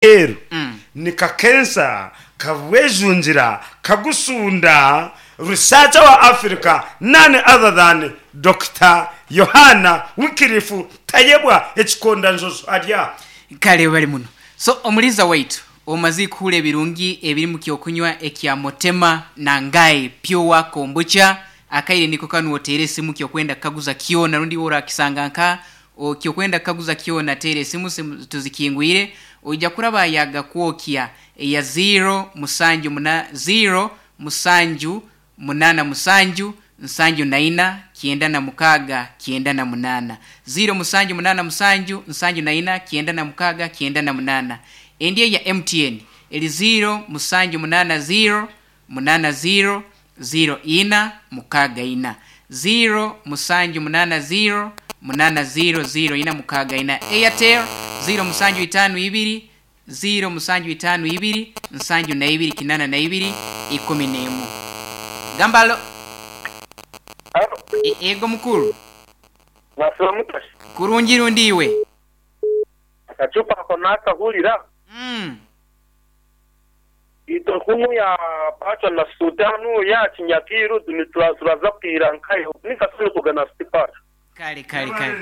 Aheeru nikakensa kabwejungira kagusunda Researcher wa Africa none other than Dokita Yohana Wycliffe Tayebwa Ekikondanjojo ari aha. Kale webale muno. So omuliza waitu omaze kuhurira ebirungi ebiri mu kyokunywa ekya Motema na Ngai Pure Kombucha, akaire niko kanu oteere esimu kyokwenda kukaguza kyona rundi iwe orakisanga nka Ky'okwenda kukaguza kyona teera esimu simu tuzikingwire oija kuraba yaga kwokya eya ziiro musanju muna ziiro musanju munana musanju nsanju na ina kyenda na mukaaga kyenda na munana ziiro musanju munana musanju nsanju na ina kyenda na mukaaga kyenda na munana endi eya MTN eri ziiro musanju munana ziiro munana ziiro ziiro ina mukaaga ina ziiro musanju munana ziiro munana ziiro ziiro ina mukaaga ina Airtel ziiro musanju itaanu ibiri ziiro musanju itaanu ibiri nsanju na ibiri kinana na ibiri ikumi n'emu Gamba alo Alo. Eego mukuru. Mwasiba muta shi? Kurungi rundi iwe? Akacupa ako nakahurira. Itwe kunu ya Pacho na Sultanu ya Kinyakiru turaza kwira nkahe nikasoni kugana City Pacho. Kale kale kale.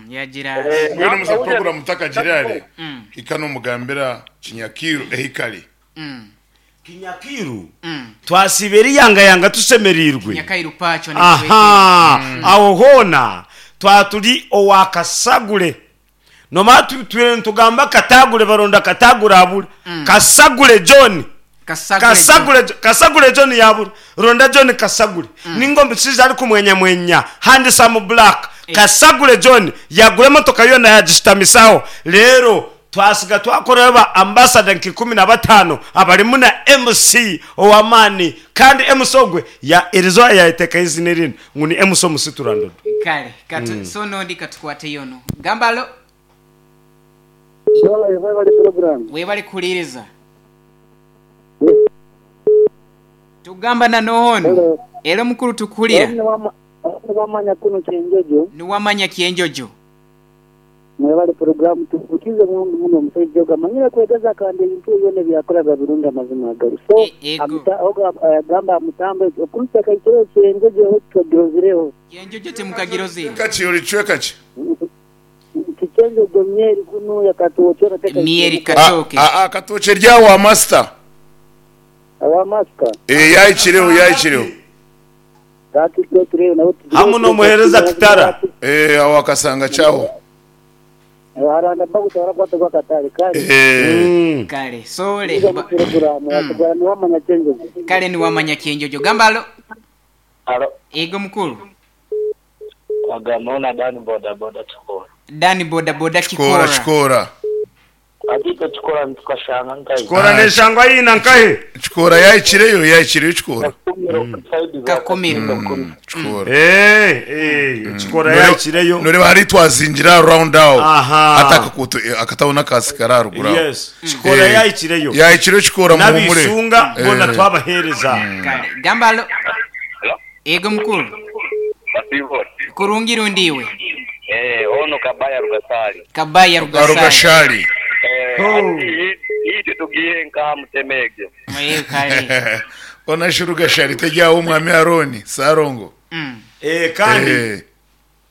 Yagira. Mbwenu muze puroguramu takagire are, hika nomugambira Kinyakiru ehikari. Kinyakiru twasiiba eriyangayanga tushemereirwe. Kinyakairu Pacho Aha, aho hoona twaba turi owa Kasagure. Nomanya tutwire nitugamba Katagure baronda Katagure abura. Kasagure John. Kasagure Kasagure John yabura. Ronda John Kasagure. Ninga omushaija arikumwenyamwenya, handsome black. Kasagure John yagura emotoka yoona yagishutamisaho. Reero Twasiga twakorayo ba ambasada nka 15 abarimu na MC ow'amaani kandi MC ogwe ya erizooba yayeteekaho eizina erindi ngu ni MC Omusiturandodo. Kale katu so n'ondi katukwateyo onu. Gamba alo. Webale webale program. Webale kuhuriiriza. Tugamba na n'oha onu? Hello. Elo mukuru tukuhurira. Onu niwamanya kunu Kyenjojo. Niwamanya Kyenjojo. Mwebale puroguramu tuhukize muno muno omusaija ogu amanyire kwegeza kandi ebintu bye byona ebyakora biba birungi amazima agali so amuta ogu agamba amutambo okuhikya akaikire ekyenjojo ho tutagirozireho. Kyenjojo timukagirozire. Kaki ori kicweka ki? Nti kyenjojo myeri kunuya katookye ora tekaikire Myeri muka. Katooke. Aa Katooke eri awa masita. Awa masita. Ee yahikireho yahikireho. Hamu n'omuheereza Kitara. Eeh aho akasanga kyaho. Eeh. Kale sole Kale niwamanya Kyenjojo. Gamba alo. Alo. Ego mukulu. Wagamba ona Dani boda boda Kikora. Dani boda boda Kikora Kikora. Kikora. Hati itwe Kikora nitukashanga nkahi? Kikora neshangwa haihi na nkahi? Kikora yahikireyo yahikireyo Kikora. Kakumiro. Kikora. Eh, eh, Kikora yahikireyo. Noreeba hariya twazingira aha round aho. Aha. Hati akakuuto akatauni akaasi kari aharuguru aho. Yes. Kikora yahikireyo. Yahikireyo Kikora muhumure. N'ab'eishunga boona twabaheereza. Kale gamba alo. Ego mukulu. Kurungi rundi iwe? Eh, ono Kabaya Rugasali. Kabaya Rugasali. Rugashali. Eh, ati itwe tugiye nka mutemege. Eh, kale. Ona shi Rugashali teryaho omwami Arooni Sarongo. Eh, kandi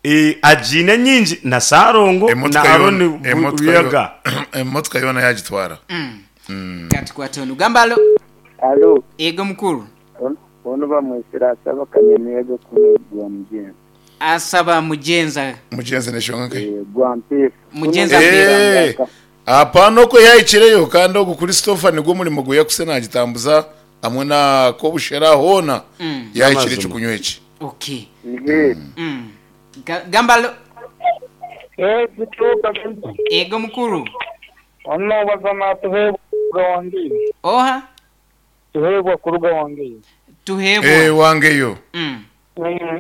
eh, agiine nyingi na Sarongo na Arooni Buyaga. Emotoka yoona yagitwara. Katukwate onu. Gamba alo. Alo. Ego mukulu. Onu bamwesire Asaba Kanyamibwa kuno gwa Mugyenzi. Asaba Mugyenza. Mugyenzi neshonga nkahi? Gwa Mpeefu. Mugyenza Eh, Mpeefu. Apana okwo yahikireyo kandi ogu Christopher nigwo murimo gu yakuse nagitambuza hamwe na Kobushera hoona yahikire ekyokunywa eki. Okay. Gamba alo. Ego mukulu. Ono bazana Tuhebwa kuruga Wangeyo. Oha? Tuhebwa kuruga Wangeyo. Tuhebwa. Eh, Wangeyo.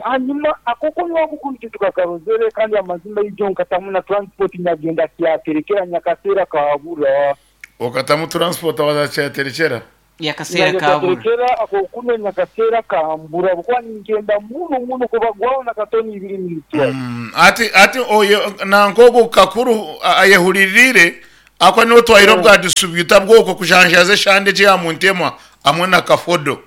Hanyuma ako kunywa oku kunu titukakarozere kandi amazima ijo nkatamu na transport nyagenda kyaterekera nyakaseera kabura. Okatamu transport waza kyaterekyera? Yakaseera Nyagenda kabura. kyaterekera ako kunywa nyakaseera kambura habwokuba ningyenda muno muno kubagwaho na katoni ibiri nitwa. Ati ati oyo nanka ogu kakuru ayehuririire Ahakuba niwe otwaire obwa distributor bw'okwo kujanjaaza eshande egi eya Muntema hamwe na Kafodo.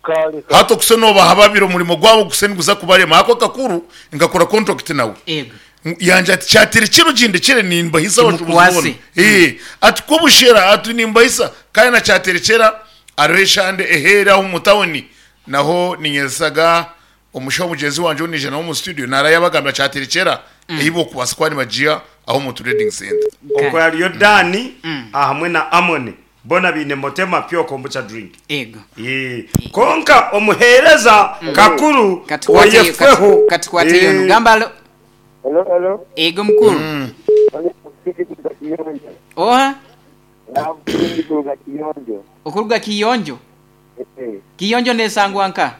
Kale kale. Hati okuse noobaha babiri omurimo gwabo guse niguza kubarema ahakuba Kakuru nkakora contract nawe. Ego. Yangira ati kyatire kinu gindekire nimbahisa abashubuzi boona. Kimukwase. Ee, ati kobushera ati nimbahisa kandi na kyaterekyera hariho eshande eheeri aho omu tawuni naho ninyezaga omushaho mugyenzi wangye ou naija nawe omu studio naarayabagambira kyaterekyera ei bokubaasa kuba nibagiiha aho omu trading centre. Okwo hariyo Dani ahamwe na Amoni, boona baine Motema Pure Kombucha Drink. Ego. Ee, Kwonka omuheereza kakuru Katukwate oyefweho. katukwate yono. Ee. Gamba alo. Hello, hello. Ego mukuru. Oli Musisi kuruga Kiyonjo. Oha? Nabundi kuruga Kiyonjo. Okuruga Kiyonjo? Eh. Kiyonjo nesangwa nka?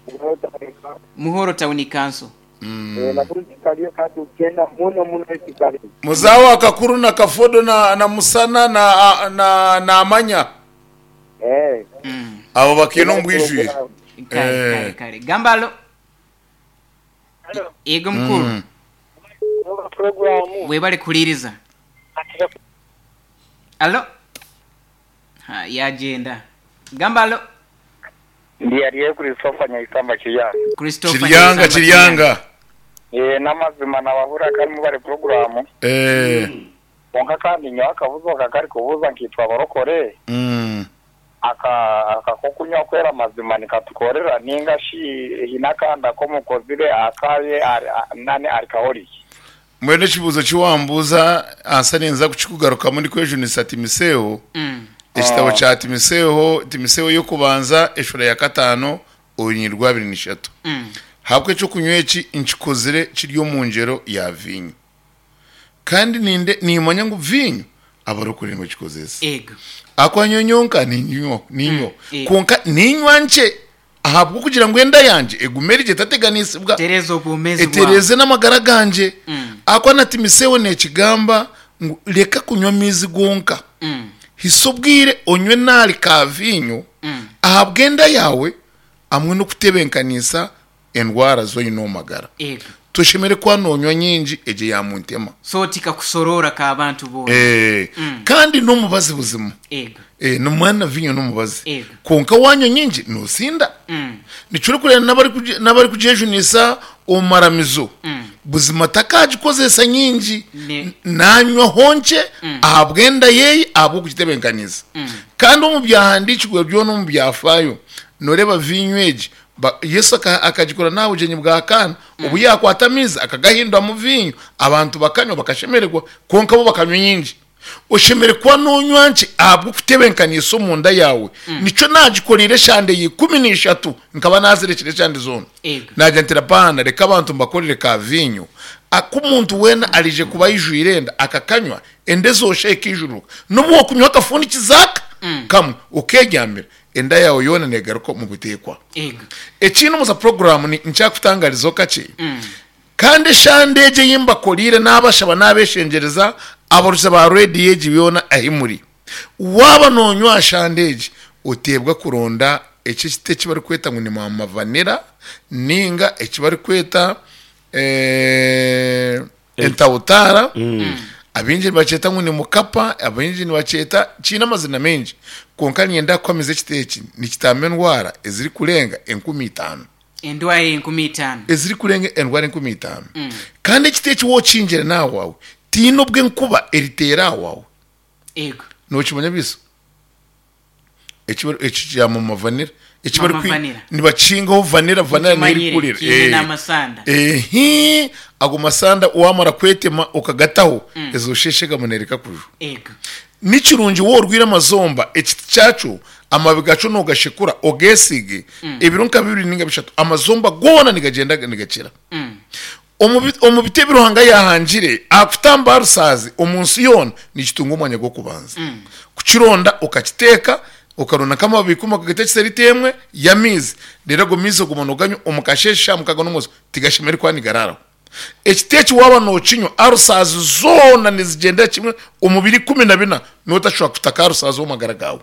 Muhoro Town Council. Muhoro Town Council. Eh, nakuru kikaliyo kandi tukenda muno muno ekikaliyo. Muzaho akakuru na kafodo na na musana na na namanya. Eh. Abo bakiine omu bwijwire. Kale Eh. kale kale. Gamba alo. Ego mukuru. Programu. Webale kuhuriiriza. Alo. Ha, yagyenda. Gamba alo. Ndi ariye Christopher Nyaisamba Kiryanga. Christopher Kiryanga Nyaisamba Kiryanga. Eh n'amazima nabahurira kandi mubare programu. Eh. Kwonka kandi nyowe akabuzo aka kari kubuuza nkaitwe abarokore. Aka aka k'okunywa kwera amazima nikatukorera ninga shi haine akandi aku omukozire akaye nani arikahoriki. Mbwenu ekibuuzo eki wambuuza ansa ninza kukikugarukamu ndikwejunisa Timiseeho. Ekitabo kya Timiseeho, Timiseeho y'okubanza eshuura ya kataano orunyiriri rwa abiri n'ishatu. Ahabw'okuba eky'okunywa eki nkikozire kiri omu ngyero ya viinyo. Kandi ninde niimanya ngu viinyo abarokore nibagikozesa. Ego. Ahakuba nyowe nyonka niinywa, niinywa. Ego. Kwonka niinywa nkye ahabw'okugira ngu enda yangye egume eri gye etateganisibwa. Etereeze obwomeezi bwawe. Etereeze n'amagara gangye. Ahakuba na Timiseeho neekigamba ngu reka kunywa amaizi gonka. Hisa obwire onywe n'ahari ka viinyo ahabw'enda yaawe hamwe n'okutebeekanisa endwara zi oine omu magara. Ego. Toshemereire kuba noonywa nyingi egyo eya muntema. So tikakusoroora k'abantu boona. Ee, kandi n'omubazi buzima. Ego. Ee, nomwana na viinyo n'omubazi. Ego. Kwonka waanywa nyingi noosinda. Nikyo orikureeba n'abari n'abarikugyejunisa omu maramizo. Buzima takaagikozesa nyingi. Ne. Naanywaho nkye ahabw'enda yeeye ahabw'okugitebeekanisa. Kandi omu byahandiikirwe byona omu byafaayo, nooreeba viinyo egi Ba, Yesu aka, akagikora n'aha bugyenyi bwa Kaana, obu yaakwata amaizi akagahinduramu viinyo, abantu bakanywa bakashemererwa, kwonka bo bakanywa nyingi. Oshemereire kuba noonywa nkye ahabw'okutebeekanisa omunda yaawe. Nikyo naagikoreire eshande ya 13, nkaba naazirekire eshande zoona. Ego. Naagira nti, Rabaana, reka abantu mbakorere ka viinyo, aku omuntu weena araije kuba aijwire enda, akakanywa, enda ezoosha ekaijururuka. N'obu waakunywa akafundikizo aka kamwe, okeegyamira, Enda yaawe yoona neegaruka omu buteekwa. Ego. Ekindi omu za puroguraamu ni nkyakutangarizaho kakye. Kandi eshande egi ei mbakoreire naabashaba naabeshengyereza abaruza ba rediyo egi yoona ahi muri. Waaba noonywa aha shande egi, oteebwa kuronda eki ekiti eki barikweta ngu ni maama vanilla nainga eki barikweta Entawutaara, abaingi nibakyeta ngu ni mukapa, abaingi nibakyeta, kiine amazina maingi. Kwonka niinyenda kukuhamiza ekiti eki nikitamba endwara ezirikurenga 5,000. Endwara 5,000. Ezirikurenga endwara 5,000. Kandi ekiti eki waaba okihingire n'aha waawe, tihaine obu enkuba eriteera aha waawe. Ego. Nookimanya beiso? Eki bari eki kya mama vanilla. Eki Mama bari kwi vanilla. nibakihingaho vanilla vanilla niyo Nkimanyire, erikurira. kiine Eh. n'amasanda. Ehi ago masanda wamara kwetema okagataho ezo sheshegama nereka kujwa. Ego. Ni kirungi waaba orwaire amazomba ekiti kyakyo amababi gakyo nogashekura ogesiige ebiro nka bibiri ninga bishatu amazomba goona nigagyenda nigakira. Omu bi omu biti ebi Ruhanga yaahangire, aha kutamba aha rusaazi omu nsi yoona nikitunga omwanya gw'okubanza. Kukironda okakiteeka, okaronda nk'amababi ikumi okagateekyesa rita emwe y'amaizi, reero ago maizi oguma nooganywa omu kasheeshe shaaha mukaaga n'omwezi, tigashemereire kuba nigaraaraho. Ekiti eki waaba nookinywa, arusaazi zoona nizigyendera kimwe omu biro 14, nootashobora kutaka arusaazi omu magara gaawe.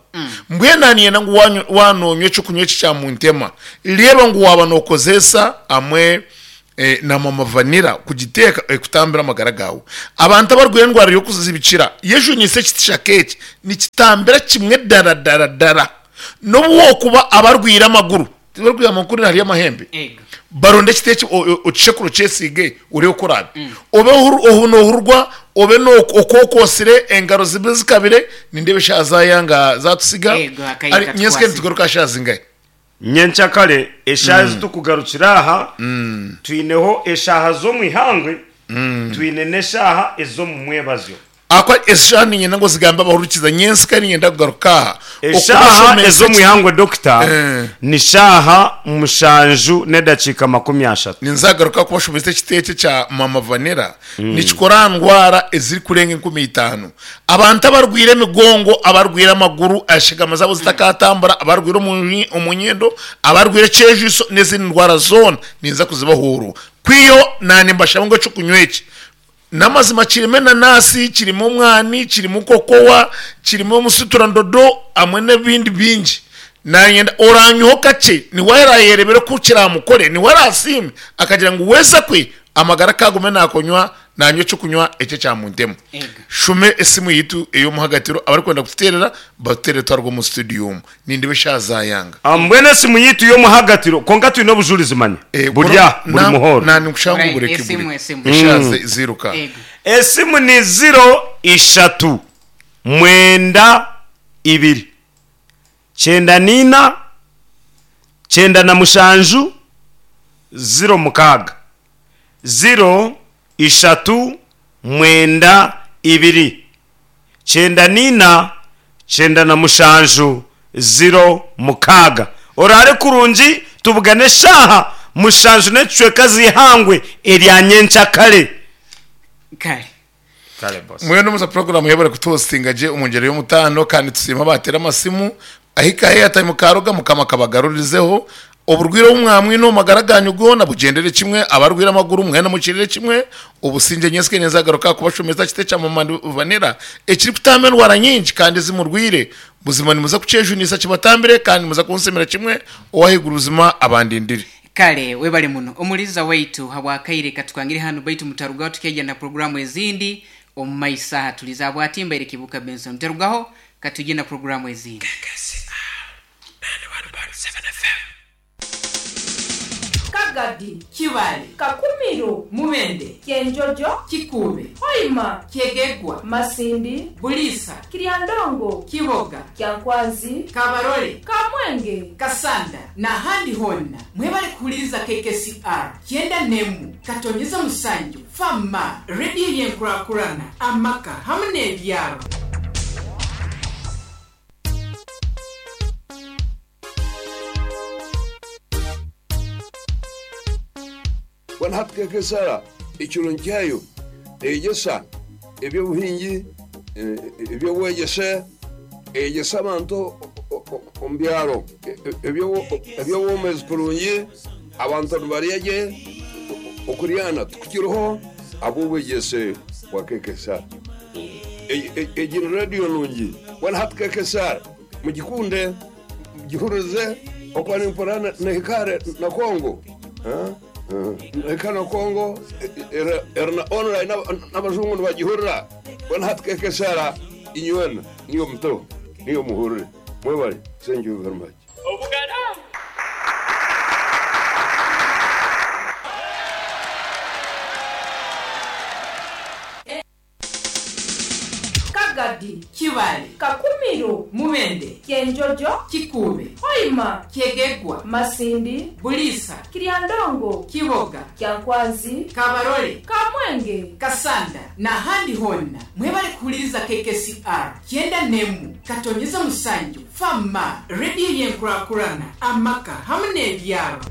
Mbwenu aha niinyenda ngu waanywa waaba noonywa eky'okunywa eki kya Muntema, reeba ngu waaba nookozeesa amwe. Na mama vanilla kugiteeka ekutambira amagara gaawe. Abantu abarwaire endwara y'okuzibikira yejunise ekiti kya eki nikitambira kimwe dara dara dara. N'obu wokuba abarwaire amaguru, tibarwaire amaguru hariyo amahembe. Baronde ekiti eki okishekure okyesiige oreebe oku oraabe. Obe nohurwa obe okwokwosire engaro zibe zikabire nindeeba eshaaha zaayanga zaatusiga. Nyentsya nitugaruka aha shaaha zingahi? Nyenkyakare eshaaha ezi turikugarukira aha, twineho eshaaha z'omu ihangwe, twine n'eshaaha ez'omu mwebazyo. Ahakuba eshaaha niinyenda ngu ozigambe abahurikiza, nyentsya niinyenda kugaruka aha Eshaaha okubashomesa ez'omu eki. ihangwe dokita ni shaaha mushanju n'edakiika 30. Ninzagaruka kubashomesa ekiti eki ekya Mama Vanilla Nikikora aha ndwara ezirikurenga 5000. Abantu abarwaire emigongo, abarwaire amaguru, eshagama zaabo zitakatambura, abarwaire omu nyindo, abarwaire ekyejwiso n'ezindi ndwara zoona ninza kuzibahuurwa. Kwihaho naanye nimbashaba ngu eky'okunywa eki n'amazima kirimu enanasi, kirimu omwani, kirimu kokowa, kirimu omusuturandodo hamwe n'ebindi bingi. Naayenda oranyweho kakye niwe araayereebere oku kiraamukore, niwe araasiime akagira ngu weeza kwe Amagara kagume nakonywa nanywa ekyokunywa eki ekya muntemu. Shume esimu yitu eyomuhagatiro abarikwenda kututerera batuterere twaruga omu studio omu. Nindeba eshaha zayanga. Mbwenu esimu yitu yomuhagatiro kwonka twine obujurizi manya buri aha buri muhoro. Nanye nikushanga ngu bureke buri eshaha ziruka. Esimu ni ziro ishatu mwenda ibiri 94 97 06. 0 ishatu mwenda ibiri 94 97 06. Oraare kurungi tubugane eshaaha mushanju n'ekicweka z'eihangwe erya nyenkyakare. Kare. Kare boss. Mbwenu muza puroguramu yebare kutuhostinga gye omu ngyero y'omutaano kandi tusiime abateera amasimu ahika airtime karuga mukama akabagarurizeho oburwire obu mwamwine omu magara ganyu goona bugyendere kimwe abarwire amaguru mwena mukirire kimwe obusingye nyentsya nenzagaruka kubashomesa kiti ekya mama vanilla ekirikutamba endwara nyingi kandi ezimurwire buzima nimuza kukyejunisa kibatambire kandi nimuza kunsimira kimwe owahaiguru buzima abandindire. Kale webale muno omuhuririza waitu habw'akaire katukangire hanu baitu mutarugaho tukyaija na puroguramu ezindi omu maiso aha tuli za Bwatimba eri Kibuuka Benson mutarugaho katwije na puroguramu ezindi. Kagadi, Kibale, Kakumiro, Mubende, Kyenjojo, Kikuube, Hoima, Kyegegwa, Masindi, Buliisa, Kiryandongo, Kiboga, Kyankwanzi, Kabarole, Kamwenge, Kasanda n'ahandi hoona. Mwebale kuhuririza KKCR 91 katonyeza mushanju Fama, rediyo y'enkurakurana, amaka hamwe n'ebyaro. Mbwenu hati KKSR ekirungi kyayo neyegyesa eby'obuhingi, eby'obwegyese, eyegyesa abantu omu byaro eby'obwomeezi kurungi, abantu nibarya gye, okuryana tikukiriho ahabw'obwegyese bwa KKSR. Egi ni radiyo nungi. Mbwenu hati KKSR mugikunde. Mugihuririze okuba nimpurira nehika hare na Congo nehika na Congo eri na online n'abajungu nibagihurira mbwenu hati KKSR inywena niyo muteho niyo muhurire mwebare thank you very much. Kagadi, Kibale, Kakumiro, Mubende, Kyenjojo, Kikuube, Hoima, Kyegegwa, Masindi, Buliisa, Kiryandongo, Kiboga, Kyankwanzi, Kabarole, Kamwenge, Kasanda n'ahandi hoona. Mwebale kuhuririza KKCR 91 katonyeza mushanju, Fama, rediyo y'enkurakurana, amaka hamwe n'ebyaro.